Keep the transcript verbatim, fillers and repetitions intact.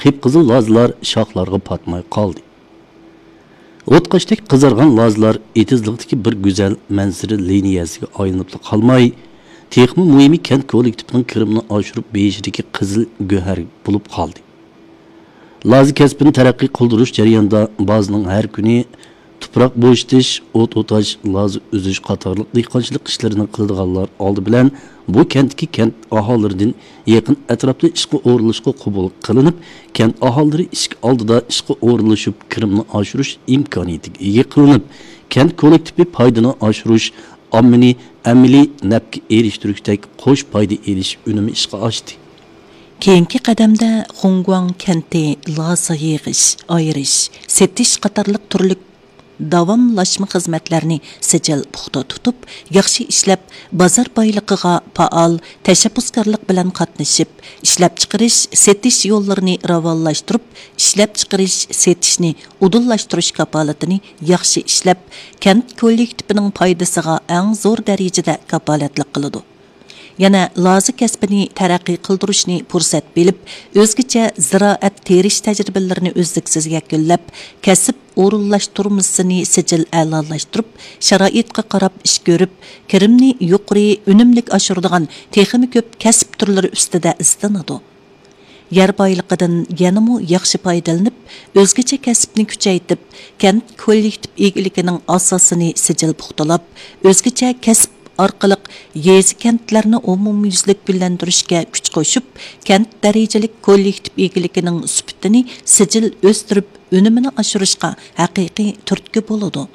قىپقىزىل لازىلار شاخلارغا پاتماي قالدى. ئوتقاشتەك قىزارغان لازىلار ئېتىزلىقتىكى بىر گۈزەل مەنزىرە لىنىيەسىگە ئايلىنىپلا قالماي، تېخىمۇ مۇھىمى كەنت كوللېكتىپىنىڭ كىرىمىنى ئاشۇرۇپ بېرىشىدىكى قىزىل گۆھەر بولۇپ قالدى. لازا كەسپىنى تەرەققىي قىلدۇرۇش جەريانىدا بازىنىڭ ھەر كۈنى تۇپراق بوشىتىش، ئوت ئوتاش، لازا ئۈزۈش قاتارلىق دېھقانچىلىق ئىشلىرىنى قىلىدىغانلار ئالدى بىلەن بۇ كەنتتىكى كەنت ئاھالىلىرىدىن يېقىن ئەتراپتا ئىشقا ئورۇنلىشىشقا قوبۇل قىلىنىپ، كەنت ئاھالىلىرى ئىشىك ئالدىدا ئىشقا ئورۇنلىشىپ، كىرىمنى ئاشۇرۇش ئىمكانىيىتىگە ئىگە قىلىنىپ، كەنت كوللېكتىپى پايدىنى ئاشۇرۇش، ئاممىنى ئەمەلىي نەپكە ئېرىشتۈرۈشتەك قوش پايدا ئېلىش ئۈنۈمى ئىشقا ئاشتى. كېيىنكى قەدەمدە خۇڭگۇاڭ كەنتى لازا يىغىش، ئايرىش، سېتىش قاتارلىق تۈرلۈك داۋاملاشما خىزمەتلەرنى سىجىل پۇختا تۇتۇپ، ياخشى ئىشلەپ، بازار بايلىقىغا پائال تەشەببۇسكارلىق بىلەن قاتنىشىپ، ئىشلەپچىقىرىش، سېتىش يوللىرىنى راۋانلاشتۇرۇپ، ئىشلەپچىقىرىش، سېتىشنى ئۇدۇللاشتۇرۇش كاپالىتىنى ياخشى ئىشلەپ، كەنت كوللېكتىپىنىڭ پايدىسىغا ئەڭ زور دەرىجىدە كاپالەتلىك قىلىدۇ. يەنە لازا كەسپىنى تەرەققىي قىلدۇرۇشنى پۇرسەت بىلىپ، ئۆزگىچە زىرائەت تېرىش تەجرىبىلىرىنى ئۈزلۈكسىز يەكۈنلەپ، كەسىپ ئورۇنلاشتۇرمىسىنى سىجىل ئەلالاشتۇرۇپ، شارائىتقا قاراپ ئىش كۆرۈپ، كىرىمنى يۇقىرى ئۈنۈملۈك ئاشۇرىدىغان تېخىمۇ كۆپ كەسىپ تۈرلىرى ئۈستىدە ئىزدىنىدۇ. يەر بايلىقىدىن يەنىمۇ ياخشى پايدىلىنىپ، ئۆزگىچە كەسىپنى كۈچەيتىپ، كەنت كوللېكتىپ ئىگىلىكىنىڭ ئاساسىنى سىجىل پۇختىلاپ، ئۆزگىچە كەسىپ ئارقىلىق يېزا كەنتلەرنى ئومۇميۈزلۈك گۈللەندۈرۈشكە كۈچ قوشۇپ، كەنت دەرىجىلىك كوللېكتىپ ئىگىلىكىنىڭ سۈپىتىنى سىجىل ئۆستۈرۈپ، ئۈنۈمىنى ئاشۇرۇشقا ھەقىقىي تۈرتكە بولىدۇ.